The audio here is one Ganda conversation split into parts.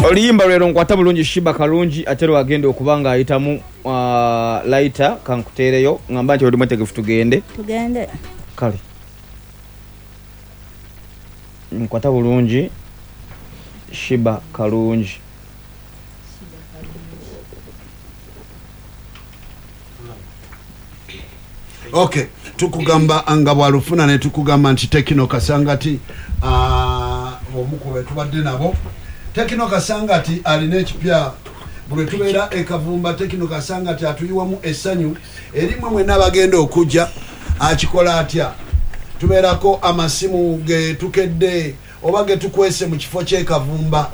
Oluyimba lwero Nkwata Bulungi, Sheebah Kalungi, ate lwagenda okuba nga ayitamu laita. Kankuteereyo ngamba nti oli mwetegefu tugende? Tugende. Kale. Nkwata Bulungi, Sheebah Kalungi. Ok, tukugamba nga bwalufuna ne tukugamba nti Tekino Kasangati, omu ku betubadde nabo, Tekino Kasangati alina ekipya. Buli tubeera ekavumba, Tekino Kasangati atuyiwamu essanyu erimwe mwenna abagenda okujja. Akikola atya? Tubeerako amasimu ge tukedde oba ge tukwese mu kifo ky'ekavumba.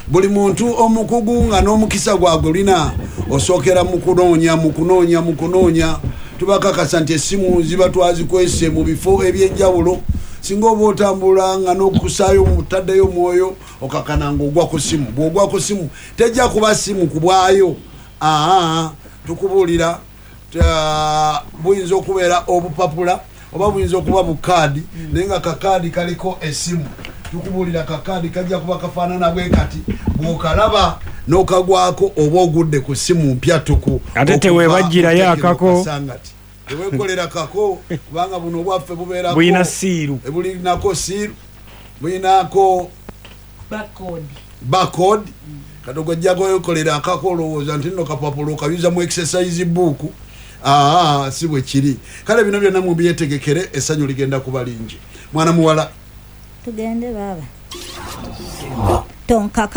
Buli muntu omukugu nga n'omukisa gwagwe lina osookera mu kunoonya, mu kunoonya, mu kunoonya. Tubakakasa nti essimu ziba twazikwese mu bifo ebyenjawulo. Singa oba otambula nga n'okusaayo mutaddeyo omwoyo, okakana ng'ogwa ku simu. Bw'ogwa ku simu, tejja kuba simu ku bwayo. Aa, tukubuulira, buyinza okubeera obupapula oba buyinza okuba bukaadi, naye nga kakaadi kaliko essimu. Tukubuulira, kakaadi kajja kuba kafaanana bwe kati. Bw'okalaba n'okagwako, oba ogudde ku simu mpya tuku. Ate teweebaggyirayo akako. Teweekolera kako, kubanga buno obwaffe bubeerako Bulina seal. Bulinako seal, bulinako barcode. Kati ogwojja kwekolera akako, olowooza nti nno kapapula okayuza mu exercise book. Aa, si bwe kiri. Kale bino byonna mubyetegekere, essanyu ligenda kuba lingi. Mwana muwala. Tugende baaba, tonkaka.